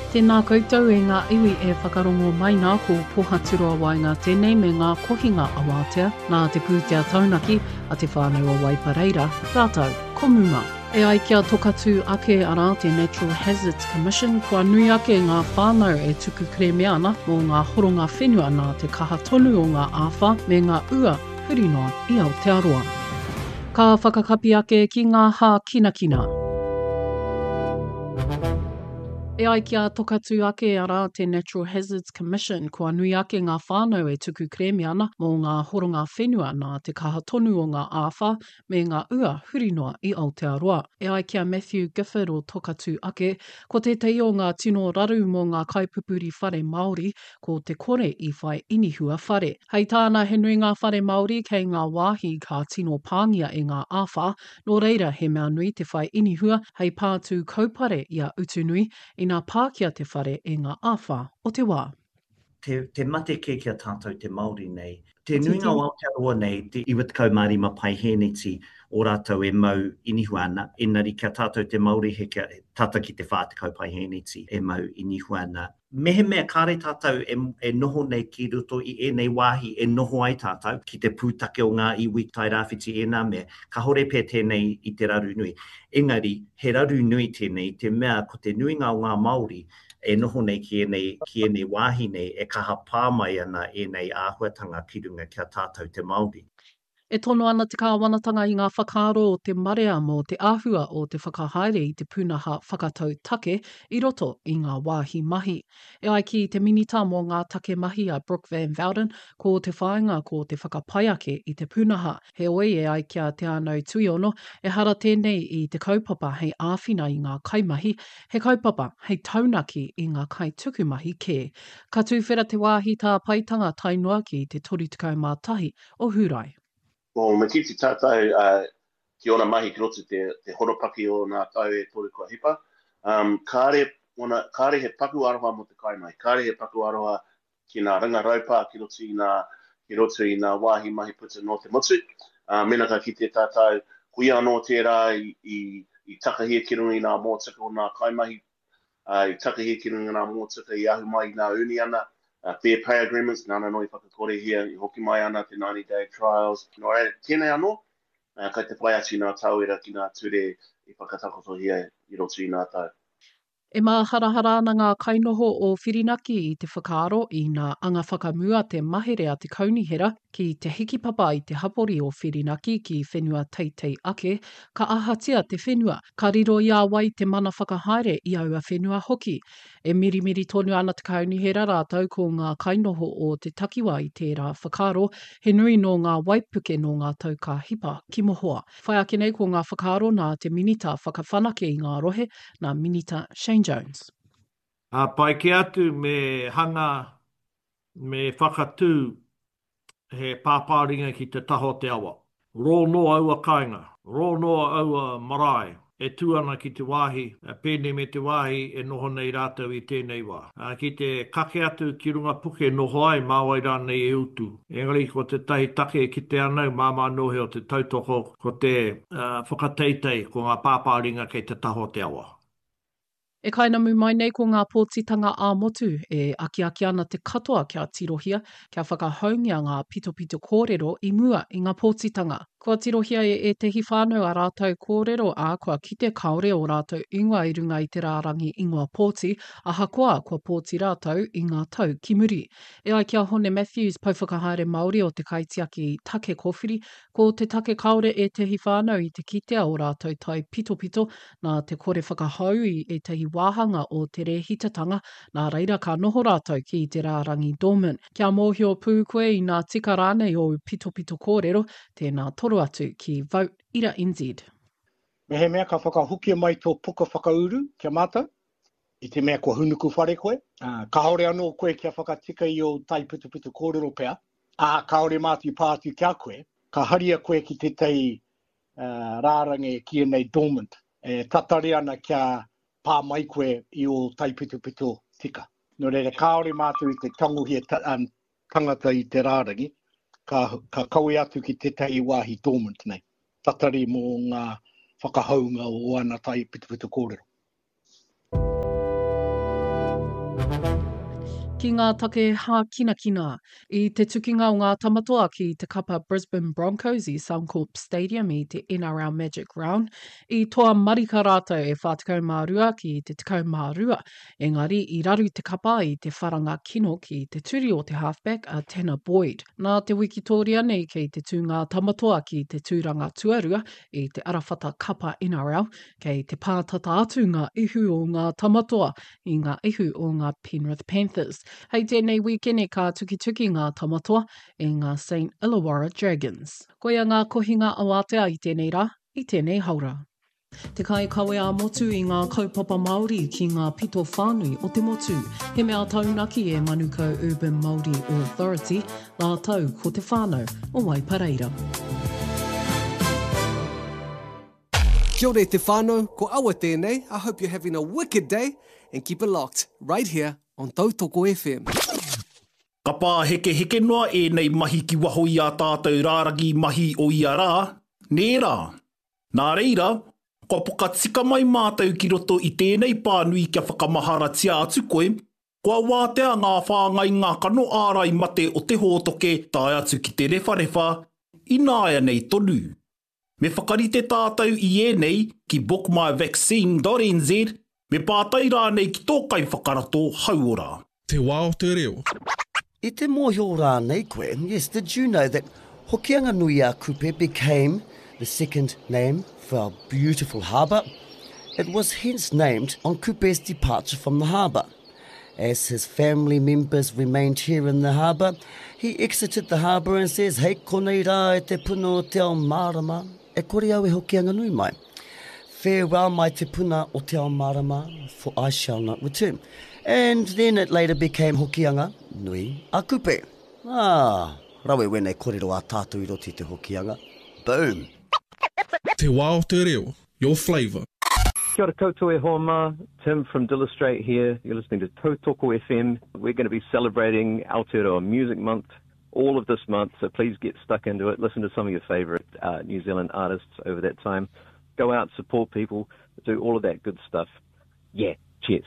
Tēnā koutou e ngā iwi e whakarongo mai nā ko Pohaturoa Waenga tēnei me ngā kohinga awātea nā te pūtea taunaki a Te Whānau o Waipareira rātou ko Muma. E ai ki a Tokatū ake arā te Natural Hazards Commission kua nui ake ngā whānau e tuku kerēme ana mō ngā horonga whenua nā te kaha tonu o ngā āwhā me ngā ua huri noa i Aotearoa. Ka whakakapi ake ki ngā hākinakina. E ai ki a Tokatū ake, arā, te Natural Hazards Commission, kua nui ake ngā whānau e tuku kerēme ana mō ngā horonga whenua nā te kaha tonu o ngā āwhā me ngā ua huri noa i Aotearoa. E ai ki a Matthew Gifford o Tokatū ake, ko tētahi o ngā tino raru mō ngā kaipupuri whare Māori ko te kore i whai inihua whare. Hei tāna he nui ngā whare Māori kei ngā wāhi ka tino pāngia e ngā āwhā, nō reira he mea nui te whai inihua hei pātū kaupare i a Utunui ina pākia te whare e ngā āwhā o te wā. Te, te mate kē ki a tātou te Māori nei. Te nuinga o Aotearoa nei, te 95 paihēneti o rātou e mau inihua ana, engari ki a tātou te Māori he kia, tata ki te 40 paihēneti e mau inihua ana. Mehemea kāre tātou e, e noho nei ki roto i ēnei wāhi e noho ai tātou, ki te pūtake o ngā iwi Tairāwhiti ēnā mea, kāore pea tēnei i te raru nui. Engari, he raru nui tēnei i te mea ko te nuinga o ngā Māori e noho nei ki ēnei, ki ēnei wāhi nei e kaha pā mai ana ēnei āhuatanga ki runga ki a tātou te Māori. E tono ana te kāwanatanga i ngā whakaaro o te marea mō te āhua o te whakahaere i te pūnaha whakatau take i roto i ngā wāhi mahi. E ai ki te Minita mō ngā Take Mahi a Brooke Van Velden, ko te whāinga ko te whakapai ake i te pūnaha. Heoi, e ai ki a Te Ānau Tuiono, ehara tēnei i te kaupapa hei āwhina i ngā kaimahi, he kaupapa hei taunaki i ngā kaitukumahi kē. Ka tuwhera te wāhi tāpaetanga tae noa ki te 31 o Hūrae. Well, me kite tātou ki ōna mahi ki roto i te, te horopaki o nā tau e toru kua hipa, um, kāre, ona, kāre he paku aroha mō te kaimahi, kāre he paku aroha ki nā ringa raupā ki roto i nā, ki roto i nā wāhi mahi puta nō te motu. Uh, mena ka kite tātou, ko ia anō tērā i, i, i takahia ki runga i nā mōtika o nā kaimahi ā, i takahi ki runga i ngā mōtika i ahu mai i ngā uniana, Fair Pay Agreements, nāna anō i whakakorehia, i hoki mai ana te 90 Day Trials. Nō reira, tēnei anō, kai te whai atu i ngā tauira ki ngā ture i whakatakotohia i roto i ngā tau. E māharahara ana ngā kainoho o Whirinaki i te whakaaro ina anga whakamua te mahere a te kaunihera ki te hikipapa i te hapori o Whirinaki ki whenua teitei ake, ka ahatia te whenua, ka riro i a wai te mana whakahaere i aua whenua hoki. E mirimiri tonu ana te kaunihera rātou ko ngā kainoho o te takiwā i tērā whakaaro, he nui nō ngā waipuke nō ngā tau ka hipa ki mohoa. Whai ake nei ko ngā whakaaro nā te Minita Whakawhanake i ngā Rohe, nā Minita Shane Jones. Ā, pai kē atu me hanga, me whakatū he pāpāringa ki te taha o te awa. Rō noa aua kāinga, rō noa aua marae e tū ana ki te wāhi pēnei me te wāhi e noho nei rātou i tēnei wā. Ki te kake atu ki runga puke noho ai, mā wai rānei e utu. Engari ko tētahi take e kite ana au, māmā nohe o te tautoko, ko te whakateitei, ko ngā pāpāringa kei te taha o te awa. E kainamu mai nei ko ngā pōtitanga ā-motu e akiaki ana te katoa kia tirohia, kia whakahoungia ngā pitopito kōrero i mua i ngā pōtitanga. Kua tirohia e ētehi whānau ā rātou kōrero, ā, kua kite kāore ō rātou ingoa i runga i te rārangi ingoa pōti, ahakoa kua pōti rātou i ngā tau ki muri. E ai ki a Hone Matthews, Pouwhakahaere Māori o te Kaitiaki Take Kōwhiri, ko te take kāore ētehi whānau i te kitea ō rātou taipitopito Nā te kore whakahou i ētahi wāhanga o te rēhitatanga, nā reira ka noho rātou ki te rārangi dormant. Kia mōhio pū koe inā tika rānei ōu pitopito kōrero, tēnā toro atu ki Vote ira NZ. Mehemea ka whakahokia mai tō puka whakauru ki a mātou, i te mea kua hūnuku whare koe, ā, kāore anō koe kia whakatika i ō taipitopito kōrero pea, ā, kāore mātou i pā atu ki a koe, ka haria koe ki tētahi rārangi e kīia nei dormant, e tatari ana kia pā mai koe i ō taipitopito tika. Nō reira, kāore mātou i te tangohia tangata i te rārangi, ka, ka kawe atu ki tētahi wāhi dormant nei, tatari mō ngā whakahounga o ana taipitopito kōrero. Ki ngā take hākinakina, i te tukinga o ngā Tamatoa ki te kapa Brisbane Broncos i Suncorp Stadium i te NRL Magic Round, i toa marika rātou e 42 ki te 12, engari i raru te kapa i te wharanga kino ki te turi o te halfback a Tanner Boyd. Nā te wikitōria nei kei te tū ngā Tamatoa ki te tūranga tuarua i te arawhata kapa NRL, kei te pātata atu ngā ihu o ngā Tamatoa i ngā ihu o ngā Penrith Panthers. Hei tēnei wīkene ka tukituki ngā Tamatoa i ngā St Illawarra Dragons. Koia ngā kohinga awātea i tēnei rā, i tēnei haora. Te kaikawe ā-motu i ngā kaupapa Māori ki ngā pito whānui o te motu. He mea taunaki e Manukau Urban Māori Authority rātou ko te whānau o Waipareira. Kia ora e te whānau, ko Awa tēnei, I hope you're having a wicked day and keep it locked right here on Tautoko FM. Ka pāhekeheke noa ēnei mahi ki waho i ā tātou rārangi mahi o ia rā, nē rā? Nā reira, kua poka tika mai mātou ki roto i tēnei pānui kia whakamaharatia atu koe, kua wātea ngā whāngainga kano ārai mate o te hōtoke tae atu ki te rewharewha, ināianei tonu. Me whakarite tātou i ēnei ki bookmyvaccine.nz, me pātai rānei ki tō kaiwhakarato hauora. Te wā o te reo. I te mōhio rānei koe, yes, did you know that Hokianga-nui-a-Kupe became the second name for our beautiful harbour? It was hence named on Kupe's departure from the harbour. As his family members remained here in the harbour, he exited the harbour and says, Hei konei rā e te puna o te ao mārama, e kore au e Hokianga-nui mai. Farewell my te puna o te ao mārama, for I shall not return. And then it later became Hokianga nui a Kupe. Ah, rawe wēnei korero a tātou i roto i te Hokianga. Boom! Te wā o te reo, your flavour. Kia ora koutou e hoa mā, Tim from Dillistrate here, you're listening to Tautoko FM. We're going to be celebrating Aotearoa Music Month all of this month, so please get stuck into it. Listen to some of your favourite uh, New Zealand artists over that time. Go out, support people, do all of that good stuff. Yeah, cheers.